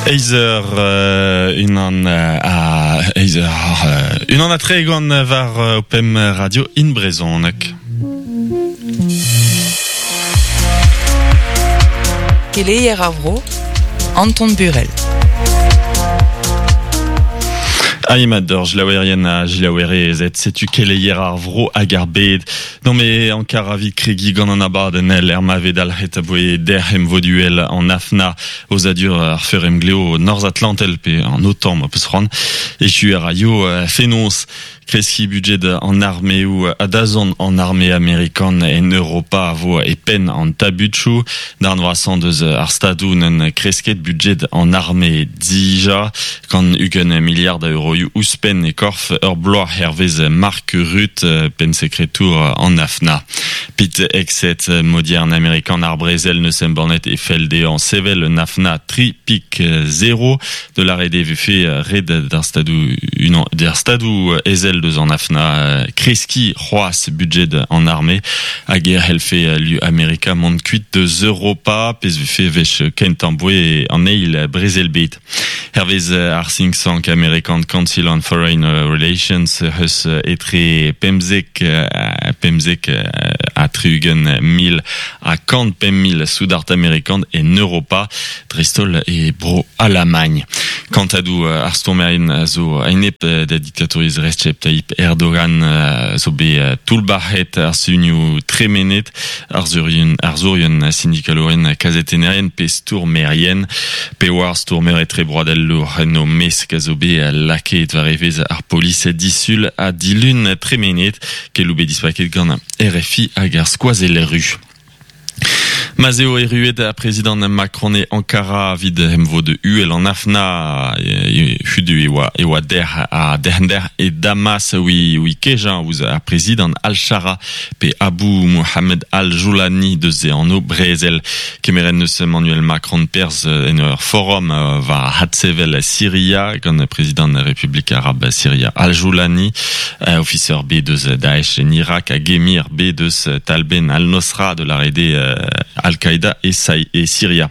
Eizh eur unan a eizh eur unan ha tregont war pemp radio in brezhoneg. Keleier ar vro, Anton Burel. Aimad d'ur jilaouerien ha jilaouerezed, setu keleier ar vro hag ar bed. Non me ankar avit kregiñ gant an abadenn er ma vez dalc'het aboe derc'h emvoduel an AFNA, aozadur ar feur-emglev Norzh-Atlantel pe an OTAN ma peus c'hoant. Echu a raio fenoz Kreskiñ budjed an armeoù ha dazont an arme amerikan en Europa a vo e penn an tabutoù. Darn vrasañ deus ar stadoù n'en kresket budjed an arme dija gant 20 miliard a euroioù ouzhpenn e korf ur bloaz hervez Mark Rutte, pennsekretour an AFNA. Pete Hegseth, modiern amerikan ar brezel neus embannet e fell dezhañ sevel un AFNA 3 pik 0 De lâret e vefe ret d'ar stadoù unan d'ar stadoù ezel deus an AFNA kreskiñ c'hoazh budjed an arme hag e c'hellfe lu Amerika mont kuit deus Europa pezh vefe wech kentañ boe an eil brezel-bed. Hervez ar think tank amerikan Council on Foreign Relations eus etre pemzek pemzek ha tri-ugent mil ha kant pemp mil soudard amerikan en Europa. dreist-holl e bro Alamagn. Kantadoù ar stourmerien a zo a-enep da diktatouriezh Recep Tayyip Erdogan zo bet toullbac'het ar sunioù tremenet, arzourien, arzourien, sindikalourien, kazetennerien pe stourmerien. Pevar stourmer etrebroadelour en o mesk a zo bet lakaet war evezh ar polis disul ha dilun tremenet, keloù bet dispaket gant RFI hag ar Skoazell Ru. Ma'z eo erruet ar prezidant Macron e Ankara evit emvod uhel an AFNA hudu e oa e oa dec'h ha derc'h e Damas oui oui kejañ ouzh ar prezidant Al-Shara pe Abou Mohamed Al-Joulani deus e anv brezel. Kemeret neus Emmanuel Macron perzh en ur forum war adsevel Siria gant prezidant Republik Arab Siria Al-Joulani, ofiser bet deus Daesh en Irak hag emir bet eus talbenn al-Nosra de la rede Al-Qaïda e, e Siria.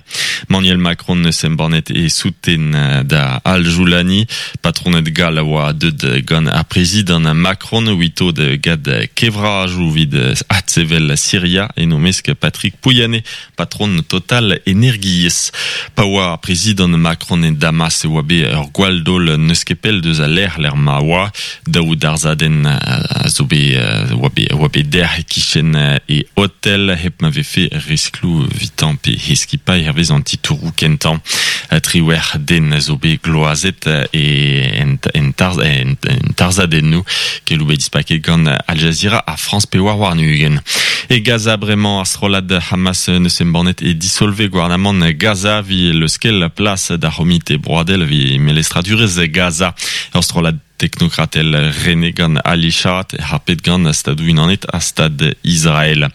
Manuel Macron neus embannet e souten da Al-Joulani, patroned gall a oa deuet gant ar prezidant Macron ouito de gad kevrajoù evit adsevel Siria en o mesk Patrick Pouyanné, patron Total Energies. Pa oa ar prezidant Macron e Damas e oa bet ur gwall-daol n'eus ket pell deus al lec'h lec'h ma oa. Daou darzhadenn a zo bet oa bet oa bet dec'h e-kichen e otel hep ma vefe riskloù evitañ pe he skipailh hervez an titouroù kentañ. Triwec'h den a zo bet gloazet e en, en, tarz, en, en tarzhadennoù keloù bet dispaket gant Al Jazeera ha France 24. E Gaza bremañ ar strollad Hamas neus embannet e disolve gouarnamant Gaza vi leuskel plas d'ar c'homite broadel evit melestradurezh Gaza. Ur strollad teknokratel renet gant Ali Shaath harpet gant Stadoù-Unanet ha Stad Israel.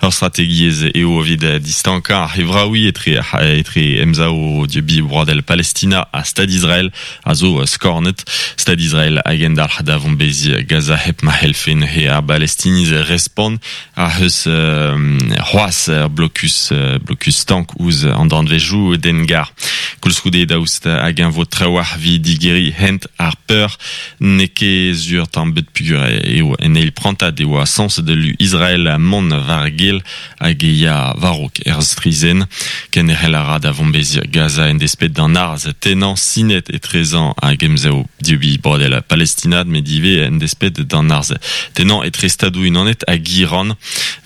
Ur strategiezh eo evit distankañ ar c'hevraouiñ etre etre emsav dieubiñ broadel Palestina ha Stad Israel a zo skornet. Stad Israel a gendalc'h da vombeziñ Gaza hep ma c'hellfe neuze ar Balestiniz respont a eus c'hoazh ur blokus blokus stank ouzh an danvezioù dengar. Koulskoude daoust hag-eñ vo trawalc'h evit digeriñ hent ar peur n'eo ket sur tamm bet peogwir eo en eil prantad e oa sañset lu Israel mont war-gil hag e ya war-raok er strizhenn. Kenderc'hel a ra da vombeziñ Gaza en desped d'an arz tennañ sinet etrezañ hag emsav dieubiñ broadel palestinat met ivez en desped d'an arz tennañ etre Stadoù-Unanet hag Iran.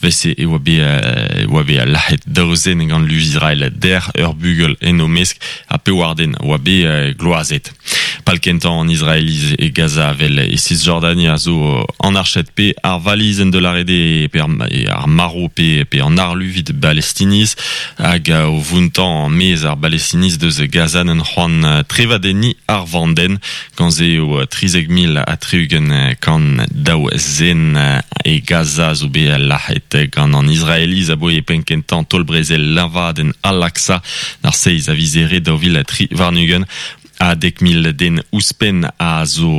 Evel-se e oa bet e oa bet lazhet daou zen gant lu Israel dec'h, ur bugel en o mesk ha pevar den oa bet gloazet. Pal kentañ an Israeliz e Gaza vel e Cisjordania a zo an arched pe ar valizenn de lâret eo pe ar marv pe, pe an arlu evit Balestiniz hag o vountañ maez ar Balestiniz deus Gaza n'en c'hoant trevadenniñ ar vandenn. Gant se eo 13 mil ha 60 kant daou zen e Gaza zo bet lazhet gant an Israeliz aboe penn-kentañ taol-brezel liñvadenn Al-Aqsa d'ar seizh a viz Here 2023. Ha 10,000 den ouzhpenn a zo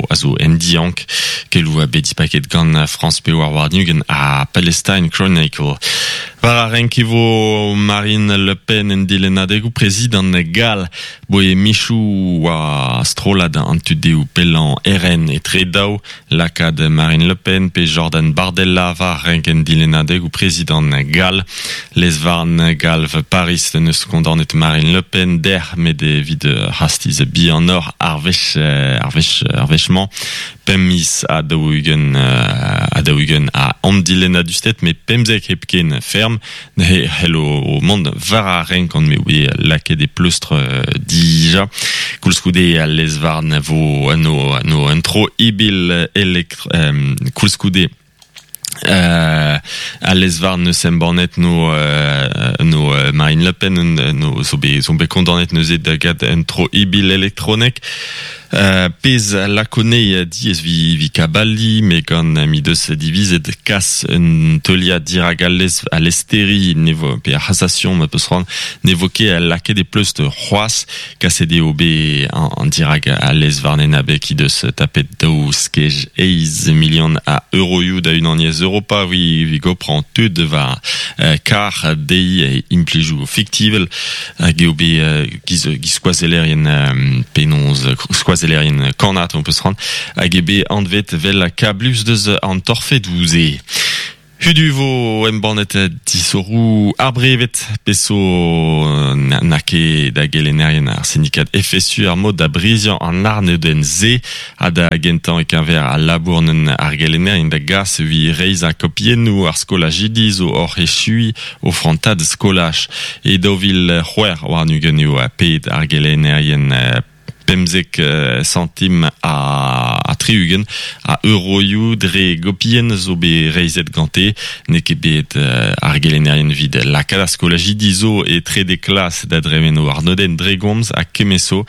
a zo en diank. Keloù a bet dispaket gant France 24 ha Palestine Chronicle. War ar renk e vo Marine Le Pen en dilennadegoù prezidant gall. Boe michoù oa strollad an tu dehou pellañ RN etre daou lakaat Marine Le Pen pe Jordan Bardella war renk en dilennadegoù prezidant gall. Lez-varn galv Paris en deus kondaonet Marine Le Pen dec'h met evit c'hastiz bihanoc'h ar wech ar wech ar wech-mañ. Pemp miz ha daou-ugent ha daou-ugent a andilennadusted met pemzek hepken ferm ne c'hello mont war ar renk gant m'eo bet lakaet e pleustr dija. Koulskoude al lez-varn vo no, no un tro ibil elektr koulskoude al lez-varn neus embannet no no Marine Le Pen no zo bet zo bet kondaonet neuze da gad un tro ibil elektronek. Pezh a lako anezhi diaes vi kabaliñ met gant m'he deus divizet kas un teuliad dirak al lez al lesteri ne vo pe ar c'hasation ma peus c'hoant ne vo ket lakaet e pleustr c'hoazh. Kaset eo bet an dirak al lez-varn en abeg he deus tapet daou skej eizh milion a euroioù da Unaniezh Europa evit goprañ tud war kar dezhi implijoù fiktivel hag eo bet giz skoazellerien penaos skoazellerien kannad on peus c'hoant hag eo bet anvet 'vel kablus deus an torfedoù-se. Hudu vo embannet disoc'hoù ar breved pezh zo n'a ket da gelennerien ar sindikad FSU ar mod da briziañ an arnodenn-se ha da gentañ e-keñver al labour n'en ar gelennerien da gas evit reizhañ kopiennoù ar skolajidi zo oc'h echuiñ o frantad skolaj. E 2026 eo paeet ar gelennerien pemzek santim ha tri-ugent a euroioù dre gopienn zo bet reizhet gante. N'eo ket bet ar gelennerien evit lakaat ar skolajidi zo e trede klas da dremen o arnodenn dre gomz ha kement-so.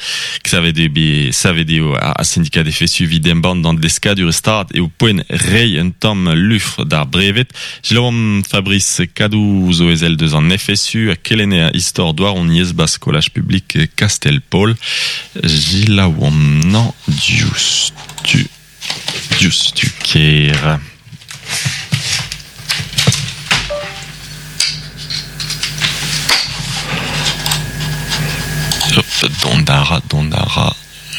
Savet eo bet savet eo ar sindikad FSU evit embann d'an deskadur stad eo poent reiñ un tamm lufr d'ar breved. Selaouomp Fabrice Kadou zo ezel deus an FSU ha kelenner istor douaroniezh 'ba skolaj publik Kastell-Paol. Selaouomp 'nañ diouzhtu diouzhtu ker. Hop, dont a ra, dont a ra.